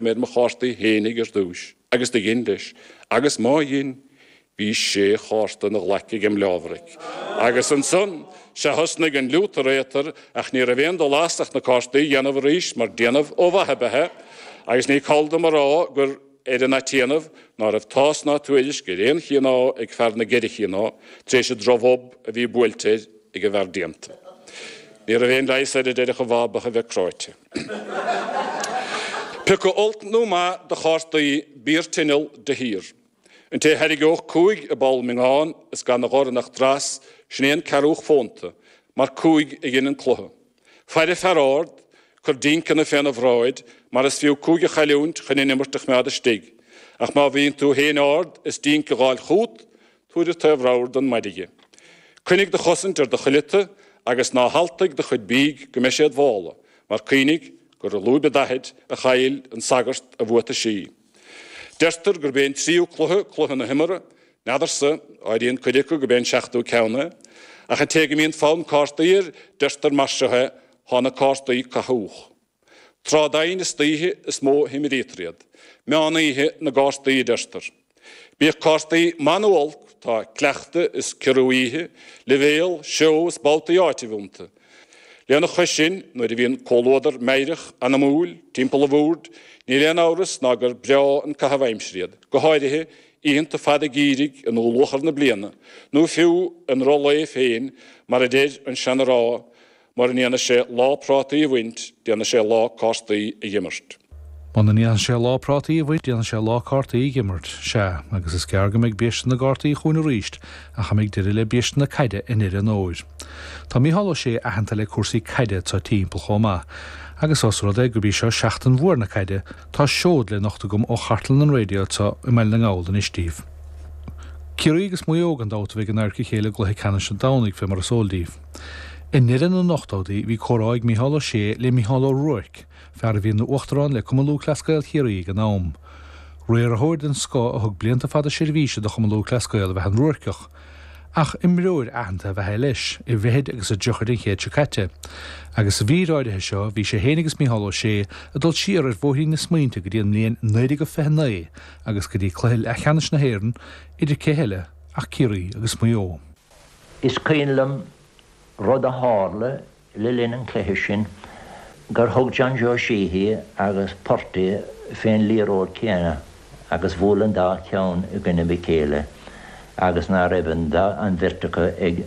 mé ar mo chártaí fhéinig ar dtúis, agus do dhein leis, agus má dhein, bhí sé chárta ina ghlaic agem leábharaic. Agus ansan, sea thosnaigh an liútar-réatar, ach ní raibh aon dul as ach na cártaí a dhéanamh arís, mar déanamh ó mhaith ab ea é, agus ní call dom a rá gur ar an atdéanamh ná raibh tásc ná tuairisc ar aon chineál ag fear na gceithre chineál, tar éis an drochbhob a bhí buailte air ag an bhfear déanta. Ní raibh aon leigheas air a déarfadh a bhab ach a bheith cráite. Piocadh olc nó maith de chártaí, bí ar tinneall de shíor. An té a thairgeodh cúig i bpoll miongán is gan 'na dhorn ach dreas, sin é an ceathrúch fónta, mar cúig a dhein an cluiche. Faire fear ard, cuir dínceanna féna bhráid, mar is fiú cúig a chailliúint chun an imirt a choimeád istigh. Ach má bhíonn tú féin ard is dínc a dh'fháil chút, Tabhair an taobh ramhar don mhaidge. Coinnigh do chosaint ar do chuileata agus ná haltaigh do chuid bídh go mbeidh sé id mhála, mar cuimhnigh gur i lúib an daichid a chaill an sagart a bhuataisí. Deirtear gurb é an tríú cluiche cluiche na himeartha, n'fheadarsa, áiríonn cuid acu gurb é an seachtú ceann é. Ach an té go mbíonn fonn cártaí air, deirtear mar seo é, thá na cártaí cathúch. Tráth doimhin istoíche is mó a himrítear iad. Meán oíche na gcártaí a deirtear. Bíodh cártaí maith nó olc, tá cleachtadh is ciorrú oíche, leibhéal, seó is babhtaí áitimh iontu. Lena chois sin, nuair a bhíonn comhluadar meidhreach, anamúil, timpeall an bhoird, níl aon amhras ná gur breá an caitheamh aimsire iad, go háirithe oícheanta fada geimhridh i ndúluachar na bliana, nó fiú i ndruth lae féin, mar a deir an seana-rá, Mura ndéana sé lá prátaí a bhaint, déana sé lá cártaí a dh'imirt. Muna ndéanfaidh sé lá prátaí a bhaint, déanfaidh sé lá cártaí a dh'imirt. Sea, agus is gearr go mbeidh biaiste na gcártaí chugainn arís, ach a mbeidh deireadh le biaiste na caide i ndeireadh an fhómhair. Tá Mícheál Ó Sé aitheanta le cúrsaí caide anso timpeall chomh maith. Agus ós rud é gurb í seo seachtain mhór na caide, tá seod le nochtadh agam ó chartlann an raidió anso i mBaile na nGall anois daoibh. Ciarraí agus Maigh Eo gan dabht a bheidh in adharca a chéile i gcluiche ceannais an Domhnaigh, fé mar is eol daoibh. I ndeireadh na n-ochtóidí bhí comhrá ag Mícheál Ó Sé le Mícheál Ó Ruairc, fear a bhí ina uachtarán le Cumann Lúthchleas Gael Chiarraí ag an am. Riarthóir den scoth a thug blianta fada seirbhíse do Chumann Lúthchleas Gael ab ea an Ruairceach. Ach imreoir aitheanta ab ea é leis, i bhfichid agus i dtríochaidí an chéid seo caite. Agus sa mhír áirithe seo bhí sé féin agus Mícheál Ó Sé ag dul siar ar bhóithrín na smaointe go dtí an mbliain 1929 agus go dtí cluiche leathcheannais na hÉireann idir cé heile ach Ciarraí agus Maigh Eo. Is cuimhin liom rud a tharla le linn an chluiche sin, gur thug John Joe Sheehy agus Purty fén liathróid chéanna agus bhuail an dá cheann i gcoinnibh a chéile agus ná raibh an dá, an bheirt acu ag,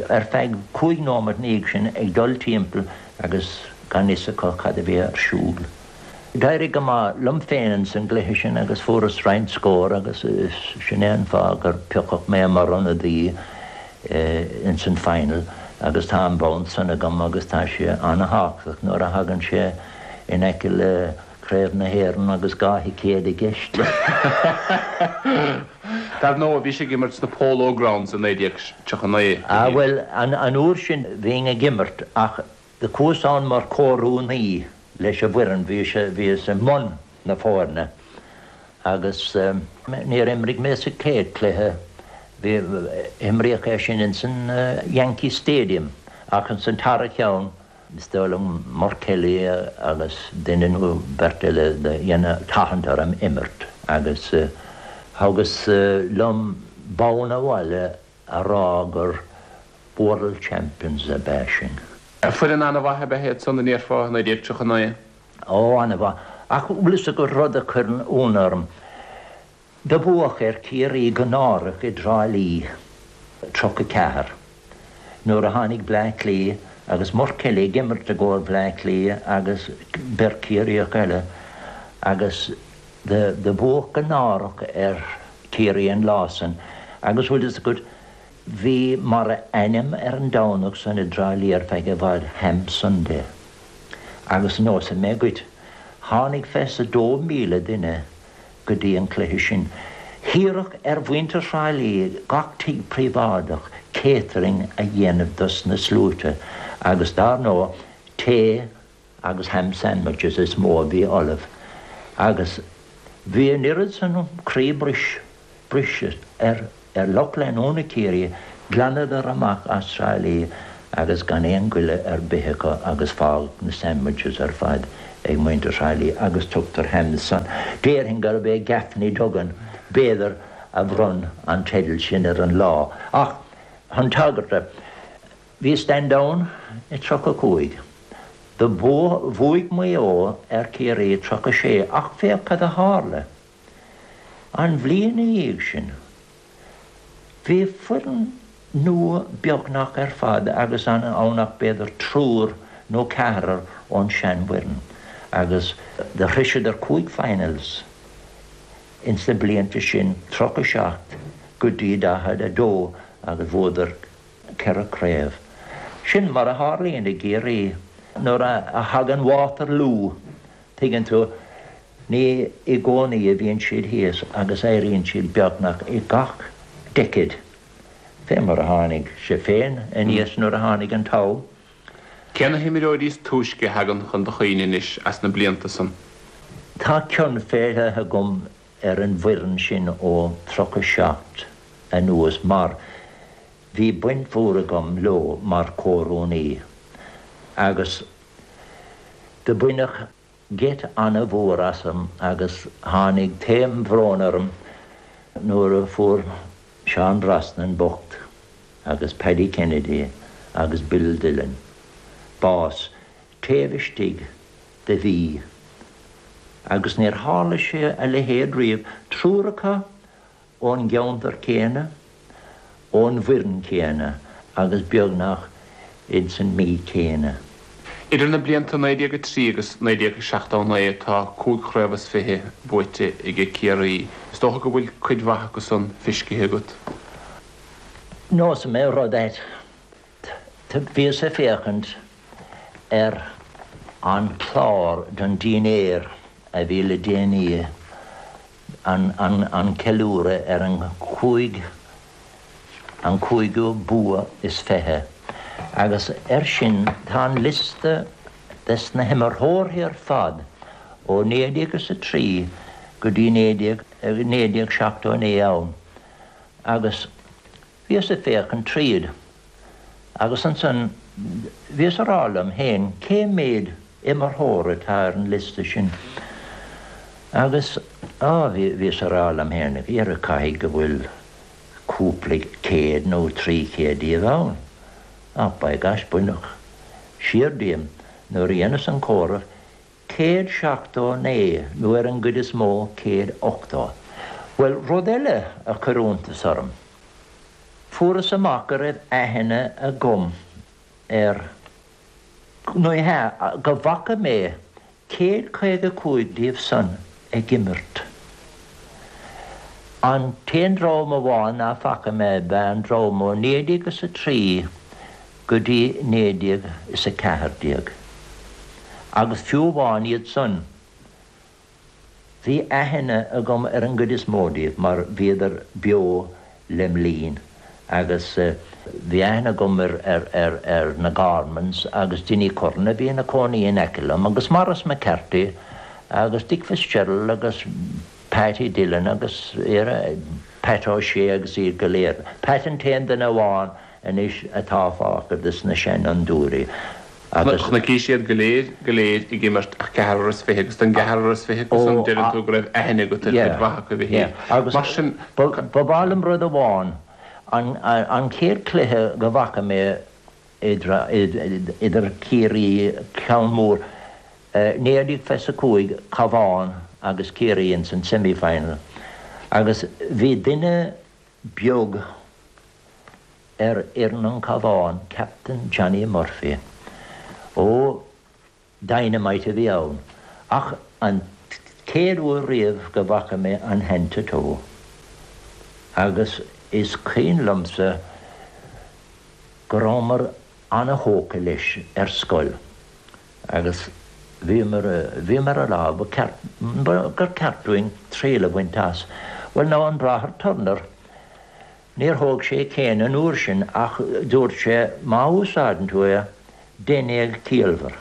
ar feadh chúig nóimeat 'na dhiaidh sin ag dul timpeall agus gan fhios acu cad a bhí ar siúl. D'éirigh go maith liom féin ins an gcluiche sin agus fuaireas roinnt scór agus sin é an fáth gur piocadh mé mar ionadaí ins an final agus tá an bonn san agam agus tá sé ana-thábhachtach nuair a thagann sé in aice le Craobh na hÉireann agus dhá thicéad i gceist. Dar ndóigh, bhís ag imirt sna Polo Grounds i 1939. Ah bhuel, an uair sin bhínn ag imirt ach Do chuas ann mar chomhrúnaí leis an bhfoireann, bhíos i mbun na foirne agus níor imrigh mé sa chéad chluiche, bhí, imríodh é sin ins an Yankee Stadium ach ins an tara cheann, is dóigh liom Murt Kelly agus duine nó beirt eile do dhein tathant orm imirt agus thugas liom bonn abhaile a rá gur World Champions ab ea sinn. Foireann an-mhaith ab ea iad san, a ndéarfá, i 1939? Ó, an-mhaith. Ach bhfuil fhios agat rud a chuireann ionadh orm? Do buadh ar Chiarraí go náireach i dTrá Lí, 34, nuair a tháinig Bleá Cliath agus Murt Kelly ag imirt i gcomhair Bhleá Cliath agus beirt Chiarraíoch eile agus do buadh go náireach ar Chiarraí an lá san agus bhfuil fhios agat Bhí mar ainm ar an Domhnach san i dTrá Lí ar feadh i bhfad Ham Sunday. Agus neosfaidh mé dhuit, tháinig fé is a 2,000 duine go dtí an cluiche sin. Hiarradh ar mhuintir Thrá Lí gach tigh príobháideach catering a dhéanamh dos na sluaite agus dár ndóigh tae agus ham sandwiches is mó a bhí ullamh agus bhí an oiread san croí bris, briseadh ar ar lucht leanúna Chiarraí, ghlanadar amach as Trá Lí agus gan aon ghoile ar bith acu agus fágadh na sandwiches ar fad. ag muintir Thrá Lí agus tugtar Hams san. Déarfainn gurb é Gaffney Duggan, b'fhéidir, a bhronn an teideal sin ar an lá. Ach chun tagairt, bhí Stand Down i 35. Do bhuaigh Maigh Eo ar Ciarraí i 36 ach féach cad a tharla. An bhliain ina dhiaidh sin, bhí foireann nua beagnach ar fad agus ann ach b'fhéidir triúr nó ceathrar ón seanfhoireann agus do shroiseadar 5 finals ins na blianta sin, 37 go dtí 42 agus bhuadar ceithre craobh. Sin mar a tharlaíonn i gCiarraí nuair a thagann Waterloo, tuigeann tú, ní i gcónaí a bhíonn siad thíos agus éiríonn siad beagnach i gach decade, fé mar a tháinig sé féin aníos nuair a tháinig an t-am. Cé na himreoirí is túisce a thagann chun do chuimhne anois as na blianta san? Tá cion fé leith agam ar an bhfoireann sin ó 37 anuas mar bhí baint mhór agam leo mar chomhrúnaí agus do baineadh geit ana-mhór asam agus tháinig taom bhróin orm nuair a fuair Seán Brosnan bocht agus Paddy Kennedy agus Bill Dillon bás taobh istigh de mhí agus níor tharla sé a leithéid riamh, triúr acu ón gceantar céanna, ón bhfoireann céanna agus beagnach ins an mí céanna. Idir na blianta 1903 agus 1979 tá cúig chraobh is fiche buaite aige Ciarraí. Is dócha go bhfuil cuid mhaith acu san feiscithe agat? Neosfaidh mé rud duit. Bhíos ag féachaint ar an chlár don dinnéar a bhí le déanaí an ceiliúradh ar an chúig an cúigiú bua is 20 agus air sin tá an liosta des na himreoirí ar fad ó 1903 go dtí 1979 ann agus Bhíos ag féachaint tríd agus ansan bhíos a rá liom féin cé méad imreoir atá ar an liosta sin agus á bhíos a rá liom féin dhera caithfidh go bhfuil cúpla céad nó 300 díobh ann. Ach by gosh baineadh siar díom nuair a dheineas an comhaireamh 179, nó ar an gcuid is mó, 180. Bhuel, rud eile a chuir iontas orm, fuaireas amach go raibh aithne agam ar, ní hea, go bhfaca mé 155 díobh san ag imirt. An t-aon dream amháin ná faca mé ab ea an dream ó 1903 go dtí 1914. Agus fiú amháin iad san, bhí aithne agam ar an gcuid is mó díobh mar bhíodar beo lem linn agus bhí aithne agam ar na Gormans agus Dinny Curran a bhí ina cónaí in aice liom agus Maurice McCarthy agus Dick Fitzgerald agus Patty Dillon agus Pat O'Shea agus iad go léir. Pat an t-aon duine amháin anois atá fágtha des na seanfhondúirí agus. Chonaicis iad go léir, go léir ag imirt ach ceathrar is fiche agus den gceathrar is fiche acu san deireann tú go raibh aithne agat ar chuid mhaith acu a Mhichíl. Mar sin. Ba mhaith liom rud amháin, an chéad chluiche go bhfaca mé idir Ciarraí, ceann mór, 1925, Cabhán agus Ciarraí ins an semi-final agus bhí duine beag ar fhoireann an Cabhán, Captain Johnny Murphy. Ó, dynamite a bhí ann. Ach an chéad uair riamh go bhfaca mé an hand to toe. Agus is cuimhin liomsa go rabhamar ana-thógtha leis ar scoil agus bhíomar, bhíomar a rá ba cheart, gur ceart dúinn triail a bhaint as. Bhuel now an Bráthair Turner, níor thóg sé céin an uair sin ach dúirt sé má úsáideann tú é, dein é go ciallmhar.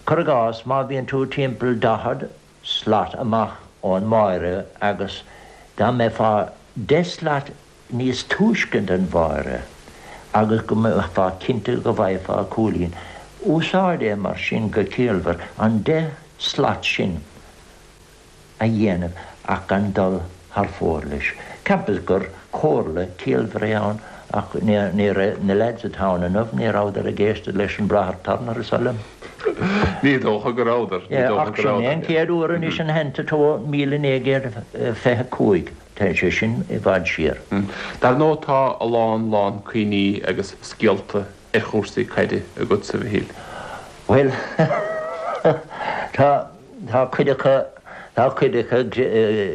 Cuir i gcás, má bhíonn tú timpeall 40 slat amach ón mbáire agus dá mbeifeá 10 slat níos túisce den bháire agus go mbeifeá cinnte go bhfaighfeá cúilín. Úsáid é mar sin go ciallmhar, an 10 slat sin a dhéanamh ach gan dul thar fóir leis. Cheapas gur comhairle ciallmhar é ann ach ní raibh, na leaids atá ann inniu, ní rabhadar ag éisteacht leis an Bráthair Turner, is oth liom. Ní dócha go rabhadar, ní dócha go rabhadar. Ach sin é an chéad uair anois ina theannta tó 1925, tá sé sin i bhfad siar. Dar ndóigh tá a lán lán cuimhní agus scéalta ar chúrsaí caide agatsa, a Mhichíl. Bhuel, tá, tá cuid acu, tá cuid acu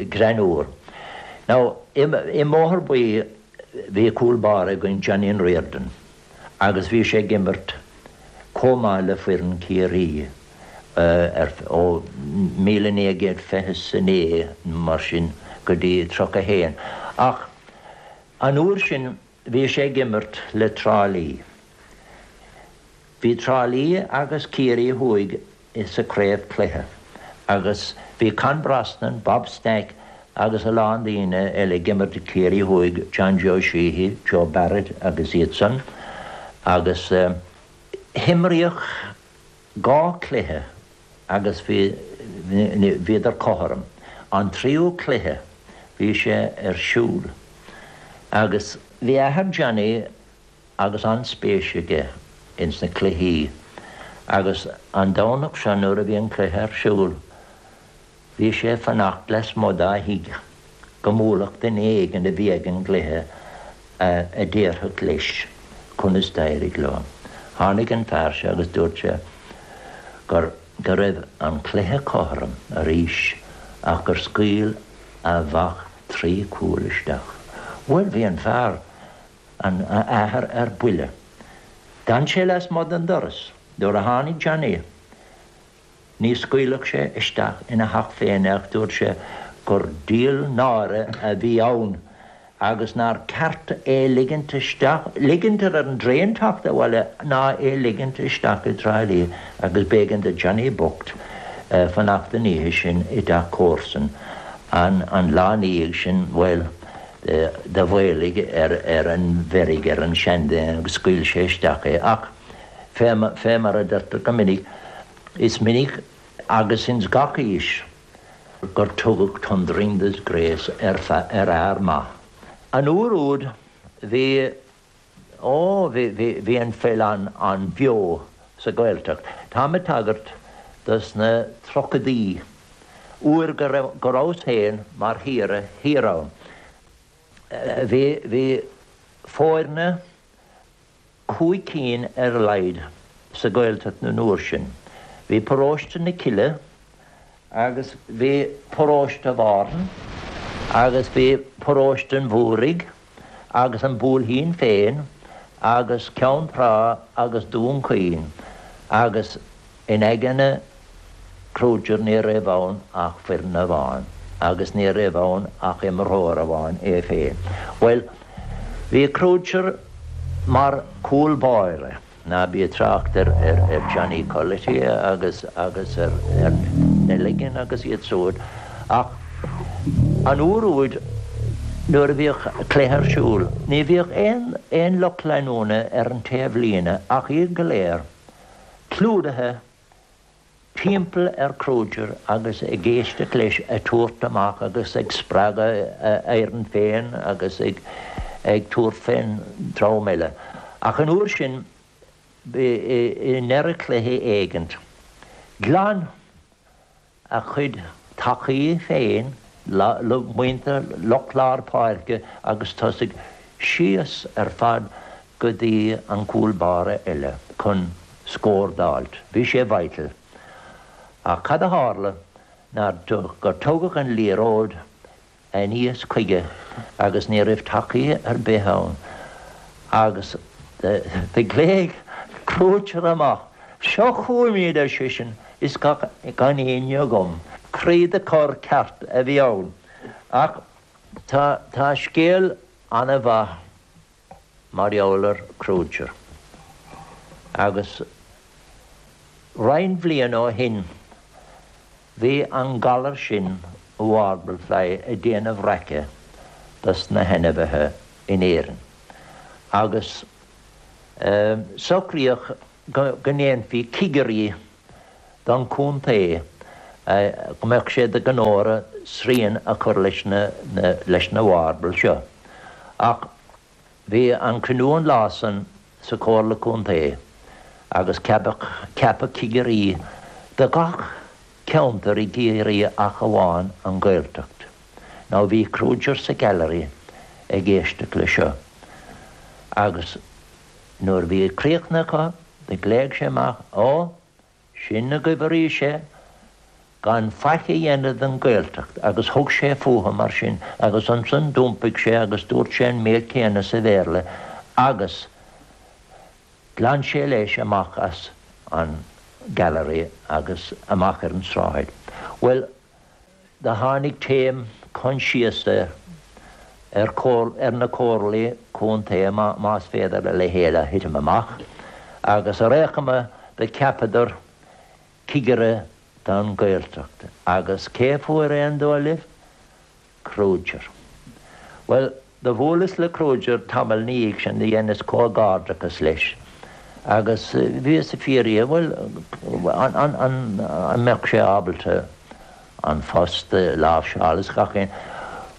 greannmhar. Now, i mBóthar Buí bhí cúl báire againn, Johnny Riordan, agus bhí sé ag imirt chomh maith le foireann Chiarraí ar, ó 1929 mar sin go dtí 31. Ach an uair sin Bhí sé ag imirt le Trá Lí. Bhí Trá Lí agus Ciarraí Thuaidh sa craobh cluiche agus bhí Con Brosnan, Bob Stack agus a lán daoine eile ag imirt do Ciarraí Thuaidh, John Joe Sheehy, Joe Barrett agus iad san agus himríodh 2 cluiche agus bhí, bhíodar cothrom. An tríú cluiche, bhí sé ar siúl agus bhí athair Johnny agus an-spéis aige ins na cluichí agus an Domhnach seo nuair a bhí an cluiche ar siúl, Bhí sé ag fanacht lasmuigh dá thigh go mbuailfeadh duine éigin a bhí ag an gcluiche a déarfadh leis conas d'éirigh leo. Tháinig an fear seo agus dúirt sé gur go raibh an cluiche cothrom arís ach gur scaoil a mhac trí chúl isteach. Bhuel, bhí an fear, an athair ar buile. D'fhan sé lasmuigh den doras. Nuair a tháinig Johnny, Ní scaoilfeadh sé isteach ina theach féin é ach dúirt sé gur díol náire a bhí ann agus nár ceart é ligint isteach, ligint ar an dtraein teacht abhaile ná é ligint isteach i dTrá Lí agus b'éigean do Johnny bocht fanacht an oíche sin i dteach comharsan. An lá ina dhiaidh sin, bhuel, do mhaolaigh ar an mheirg ar an seanduine agus scaoil sé isteach é ach Fé mar a deirtear go minic, is minic agus ins gach aois gur tugadh thundering disgrace ar fhear maith. An uair úd bhí, ó, bhí, bhí, bhí an pheil an-bheo sa Ghaeltacht. Táim ag tagairt dos na tríochadaí, uair go raibh, go rabhas féin mar shaoire thiar ann. Bhí, bhí foirne, 5 cinn ar a laghad sa Ghaeltacht an uair sin. Bhí Paróiste na Cille agus bhí Paróiste Bhártha agus bhí Paróiste an Mhúraigh agus an Buailthín féin agus Ceann Trá agus Dún Chaoin agus In aigne Crozier ní raibh ann ach foireann amháin agus ní raibh ann ach imreoir amháin, é féin. Bhuel, bhí Crozier mar chúl báire, ná bí ag trácht ar Johnny Culloty agus agus ar Nelligan agus iad siúd, ach an uair úd nuair a bhíodh cluiche ar siúl, ní bhíodh aon aon lucht leanúna ar an taobhlíne ach iad go léir. clúdaithe timpeall ar Crozier agus ag éisteacht leis ag tabhairt amach agus ag spreagadh a fhoireann féin agus ag tabhairt fén dream eile. Ach an uair sin, i ndeireadh cluiche éigint, ghlan a chuid tacaí féin, muintir lucht lár páirce agus tosaigh, síos ar fad go dtí an cúl báire eile chun scór d'fháilt. Bhí sé vital. Ach cad a tharla ná gur tugadh an liathróid aníos chuige agus ní raibh tacaí ar bith ann agus do ghlaoigh Crozier amach, Seo chugam iad, ar seisean, is gan éinne agam. Croí de chorr ceart a bhí ann. Ach tá tá scéal ana-mhaith mar gheall ar Crozier agus roinnt bhliain ó shin Bhí an galar sin, warble fly, ag déanamh raice dos na hainmhithe in Éirinn agus socraíodh. go ndéanfaí cigirí don chontae, go mbeadh sé de ghnó orthu srian a chur leis na leis na marbles seo. Ach bhí an cruinniú an lá san sa Chomhairle Contae agus ceapadh ceapadh cigirí do gach ceantar i gCiarraí ach amháin an Ghaeltacht. Now bhí Kruger sa gallery ag éisteacht le seo agus nuair a bhí críochnaithe acu do ghlaoigh sé amach, Ó, sin agaibh arís é, gan faic a dhéanamh don Ghaeltacht agus thug sé fúthu mar sin agus ansan d'iompaigh sé agus dúirt sé an méid céanna sa Bhéarla agus ghlan sé leis amach as an gallery agus amach ar an tsráid. Bhuel, Do tháinig taom coinsiasa ar ar na comhairlí contae, más féidir a leithéid a thitim amach, agus ar aon chuma do cheapadar cigire don Ghaeltacht. Agus cé fuair é an dóigh libh? Kruger. Bhuel, Do bhuaileas le Kruger tamall 'na dhiaidh sin, do dheineas comhghairdeachas leis agus bhíos ag fiafraí dhe, bhuel, an mbeadh sé ábalta an phost a láimhseáil is gach aon.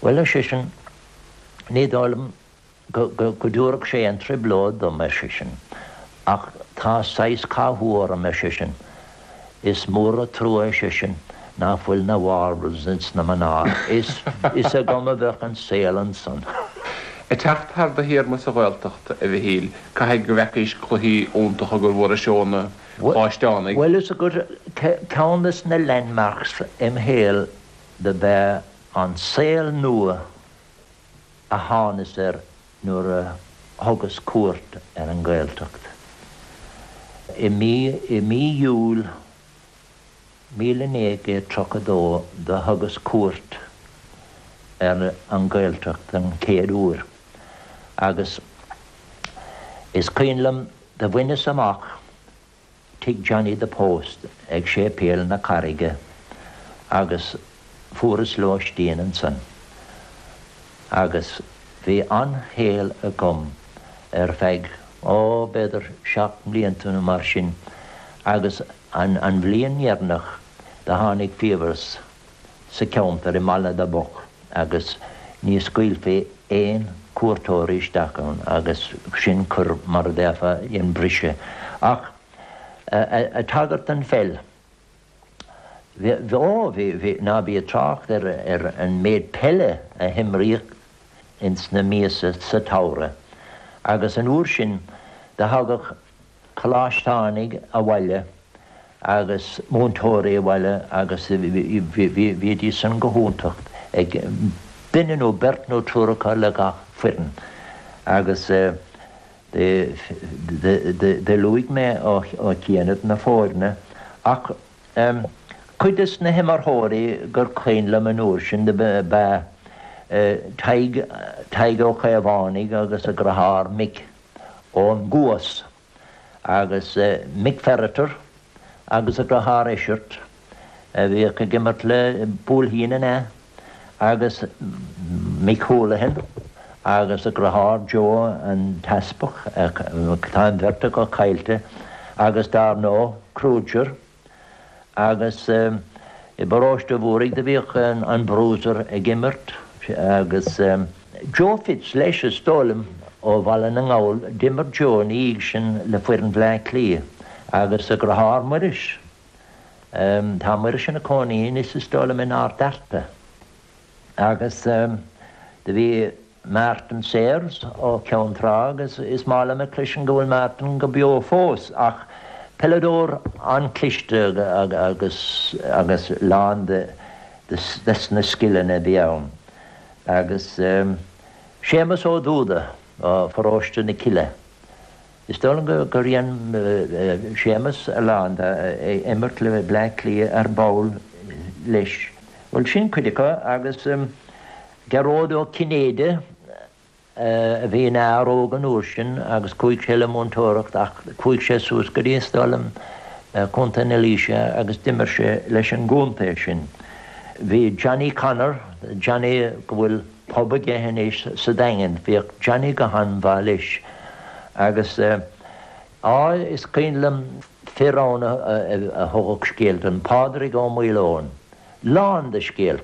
Bhuel, ar seisean, ní dóigh liom go dtabharfadh sé aon trioblóid dom, ar seisean, ach tá saghas cathú orm, ar seisean. Is mór an trua, ar seisean, nach bhfuil na marbles ins na mná. Is is agam a bheadh an saol ansan. Ag teacht thar do théarma sa Ghaeltacht, a Mhichíl, caithfidh go bhfeacaís cluichí iontacha gur bhfuarais ó na Coláisteánaigh. Bhuel, is agat, ceann des na landmarks im shaol do b'ea an saol nua a thánas air nuair a thugas cuairt ar an nGaeltacht i mí i mí Iúil 1932 do thugas cuairt ar an Ghaeltacht den chéad uair agus is cuimhin liom do bhaineas amach Tigh Johnny the Post ag Séipéal na Carraige agus fuaireas lóistín ansan agus bhí an-shaol agam ar feadh, ó, b'fhéidir seacht mblianta nó mar sin agus an an bhliain dheireanach do tháinig fiabhras sa cheantar i mBaile na mBocht agus ní scaoilfí aon cuairteoirí isteach ann agus sin cur mar a déarfá dhein briseadh. Ach ag tagairt don pheil, bhí, ó bhí, bhí, ná bí ag trácht ar ar an méid peile a himríodh ins na míosa sa tsamhradh agus an uair sin do thagadh coláisteánaigh abhaile agus múinteoirí abhaile agus bhídís san go hiontach ag duine nó beirt nó triúr acu le gach foireann agus do luaigh mé ó chianaibh na foirne ach cuid des na himearthóirí gur cuimhin liom an uair sin do b'ea Tadhg, Tadhg Ó Caomhánaigh agus a dheartháir Mick. ón gCuas, agus Mick Ferriter agus a dheartháir Eisirt, a bhíodh ag imirt le Buailthín an ea, agus Mick Houlihan agus a dheartháir Joe an tEaspag, tá an bheirt acu caillte, agus dar ndóigh Kruger. Agus i bparóiste Mhúraigh do bhíodh an Bruiser ag imirt agus Joe Fitz leis is dóigh liom ó Bhaile na nGall, d'imir Joe ina dhiaidh sin le foireann Bhleá Cliath agus a dheartháir Muiris, tá Muiris ina cónaí anois is dóigh liom in Ard Fhearta. Agus do bhí Martin Sayers ó Cheann Trá agus is maith liom a chloisint go bhfuil Martin go beo fós ach peileadóir an-chliste agus agus lán de des na scileanna a bhí ann. Agus Séamus Ó Dúda ó Pharóiste na Cille. Is dóigh liom gur dhein Séamus a lán de imirt le Bleá Cliath ar ball leis. Bhuel sin cuid acu agus Gearóid Ó Cinnéide a bhí ina fhear óg an uair sin agus chuaigh sé le múinteoireacht ach chuaigh sé suas go dtí is dóigh liom Contae na Laoise agus d'imir sé leis an gcontae sin. Bhí Johnny Connor, Johnny go bhfuil pub aige anois sa Daingean. Bhíodh Johnny go han-mhaith leis agus. Á, is cuimhin liom fir ann a thugadh scéalta dom, Pádraig Ó Maoileoin, lán de scéalta.